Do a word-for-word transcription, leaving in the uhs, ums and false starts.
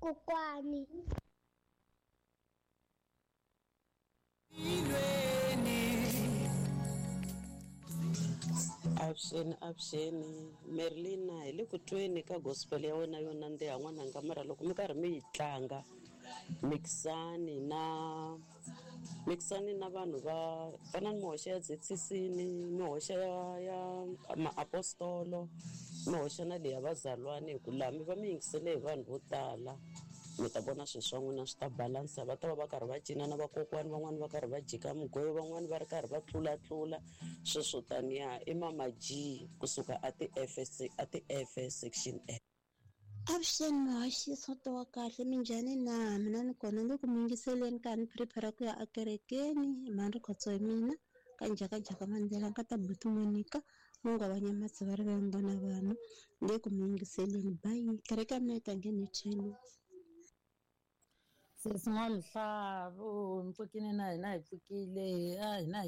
Kokwani. Avuxeni, avuxeni Merlina, hi le ku tweni ka gospel ya wena yo nandziha n'wananga, mara loko mi karhi mi yi tlanga mixani na mixani na vanhu va fana ni mihoxa ya Z C C, ni mihoxa ya ya maapostolo, mi hoxa na leyi ya vazalwane, hi ku laha mi va mi yingisele hi vanhu vo tala, mi ta vona swilo swa n'wina swi ta balansa. Va ta va va karhi va cina na vakokwani van'wani, va karhi va jika mugwevo, van'wani va ri karhi va tlulatlula sweswo taniya. I Mama G kusuka a ti-F a ti-F section F. Avuxeni muhaxi, soto wa kahle, minjhani na? Mina ni kona, ni le ku mi yingiseleni ka ni prepare ku ya ekerekeni. Mhani Rikhotso hi mina ka Njhakanjhaka Mandela ka ta buti Monica Mungu wa Nyamatsi va ri vengo na vanhu. Ni le ku mi yingiseleni, bayi kereke ya mina yi ta nghena hi ten. Sesi N'wamuhlavu, mi pfukile na hina hi pfukile a hina hi.